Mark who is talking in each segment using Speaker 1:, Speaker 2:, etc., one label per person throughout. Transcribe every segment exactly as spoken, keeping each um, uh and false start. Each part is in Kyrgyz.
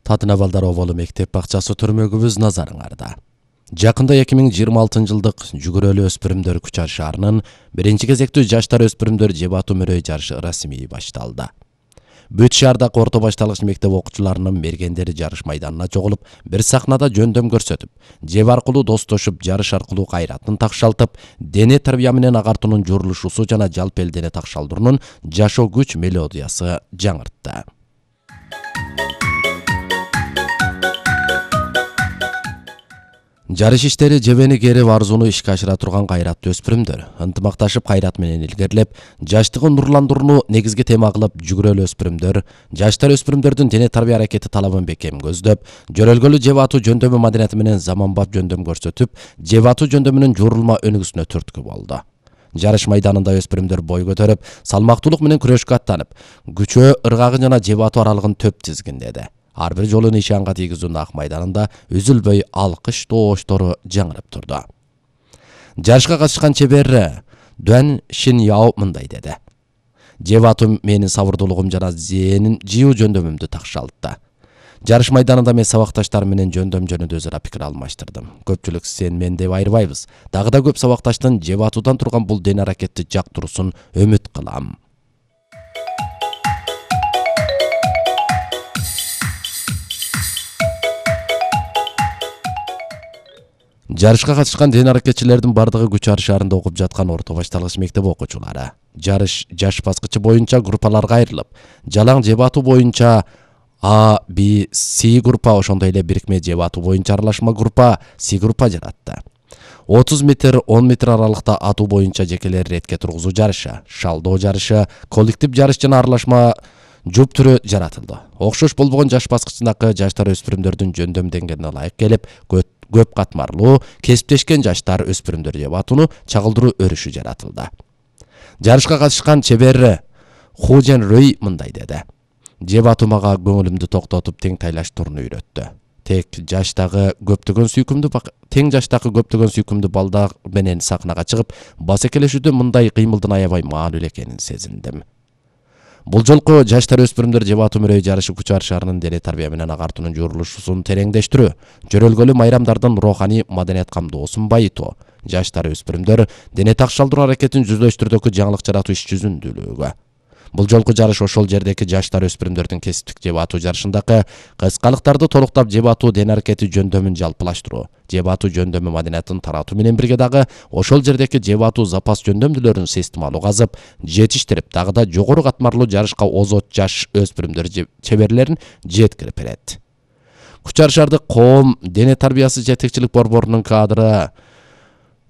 Speaker 1: Татына балдар оболу мектеп бакчасы төрмөгүбүз назарыңарда. Жакында эки миң жыйырма алтынчы жылдык жүгүрөлүү өспүрүмдөр Кучар шаарынын биринчи кезектүү жаштар өспүрүмдөр жеп атуу мөрөй жарышы расмий башталды. Бүт шаардагы орто башталгыч мектеп окуучуларынын мергендери жарыш майданына чогулуп, бир сахнада жөндөм көрсөтүп, жеп аркылуу достошуп, жарыш аркылуу кайратын такшалтып, дене тарбия менен агартуунун журулушусу жана жалпы эл дене такшалдыруунун жашоо күч мелодиясы жаңыртты. Жарыш иштери жебени керип арзууну ишке ашыра турган кайраттуу өспүрүмдөр ынтымакташып кайрат менен илгерилеп, жаштыгын нурландырууну негизги тема кылып жүгүрөлүү өспүрүмдөр жаштар өспүрүмдөрдүн дене тарбия аракети талабын бекем көздөп, жөрөлгөлүү жеп атуу жөндөмү маданияты менен заманбап жөндөм көрсөтүп, жеп атуу жөндөмүнүн журулма өнүгүүсүнө түрткү болду. Жарыш майданында өспүрүмдөр бой көтөрүп, салмактуулук менен күрөшкө аттанып, күчөө, ыргагы жана жеп атуу аралыгын төп тизгиндеди. Ар бир жолу нишанга тийгизүүнүн ак майданында үзүлбөй алкыш тооштору жаңырып турду. Жарышка катышкан чебер Дуан Шиняо мындай деди: "Жеп атуу менин сабырдуулугум жана зээнин жыйуу жөндөмүмдү такшалтты. Жарыш майданында мен сабакташтарым менен жөндөм жөнүндө өзара пикир алмаштырдым. Көпчүлүк сен мен деп айырбайбыз. Дагы да көп сабакташтын жеп атуудан турган бул дене аракетти жактыруусун үмүт кылам." Жарышка катышкан дене аракетчилердин бардыгы Кучар шаарында окуп жаткан орто башталгыч мектеп окуучулары. Жарыш жаш баскычы боюнча группаларга айрылып, жалаң жеп атуу боюнча А, Б, С группа, ошондой эле бирикме жеп атуу боюнча аралашма группа С группа жаратты. отуз метр, он метр аралыкта атуу боюнча жекелер ретке тургузуу жарышы, шалдоо жарышы, коллектив жарыш жана аралашма жуп түрү жаратылды. Окшош болбогон жаш баскычындагы жаштар өспүрүмдөрдүн жөндөм деңгээлине ылайык келип, көп катмарлуу, кесиптешкен жаштар өспүрүмдөр жеп атууну чагылдыруу өрүшү жаратылды. Жарышка катышкан чебер Ху Жен Рөй мындай деди: "Жеп атуу мага көңүлүмдү токтотуп, тең тайлаштырууну үйрөттү. Тек жаштагы көптөгөн сүйкүмдүү тең жаштагы көптөгөн сүйкүмдүү балдар менен сахнага чыгып, басекелешүүдө мындай кыймылдын аябай маанилүү экенин сезиндим." Бул жолку жаштар өспүрүмдөр жеп атуу мөрөй жарышы Кучар шаарынын дене тарбия менен агартуунун журулушусун тереңдештирүү, жөрөлгөлүү майрамдардын руханий маданият камдоосун байытуу, жаштар өспүрүмдөр дене такшалдыруу аракетин жүзлөштүрүүдөгү жаңылык жаратуу иш жүзүндүүлүгү. Бул жолку жарыш ошол жердеги жаштар өспүрүмдөрдүн кесиптик жеп атуу жарышындагы кыскалыктарды толуктап жеп атуу дене аракети жөндөмүн жалпылаштыруу, жеп атуу жөндөмү маданиятын таратуу менен бирге дагы ошол жердеги жеп атуу запас жөндөмдүүлөрүн системалуу казып, жетиштирип, дагы да жогору катмарлуу жарышка озот жаш өспүрүмдөр чеберлерин жеткирип берет. Кучар шаардык коом дене тарбиясы жетекчилик борборунун кадры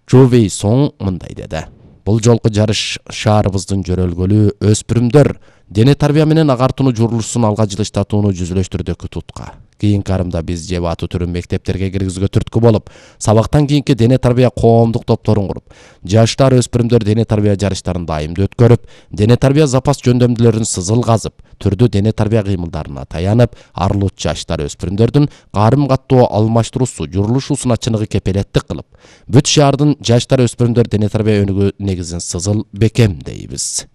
Speaker 1: Чу Вей Соң мындай деди: "Бул жолку жарыш шаарыбыздын жөрөлгөлүү өспүрүмдөр дене тарбия менен агартууну журулушун алга жылыштатууну жүзүлөштүрүүдөгү тутка. Кийинки арымда биз жеп атуу түрүн мектептерге киргизүүгө түрткү болуп, сабактан кийинки дене тарбия коомдук топторун куруп, жаштар өспүрүмдөр дене тарбия жарыштарын дайымдуу өткөрүп, дене тарбия запас жөндөмдүүлөрүн сызыл казып, түрдүү дене тарбия кыймылдарына таянып, арылуу жаштар өспүрүмдөрдүн карым каттоо алмаштыруусу журулушусуна чыныгы кепелеттик кылып, бүт шаардын жаштар өспүрүмдөр дене тарбия өнүгүү негизин сызыл бекемдейбиз."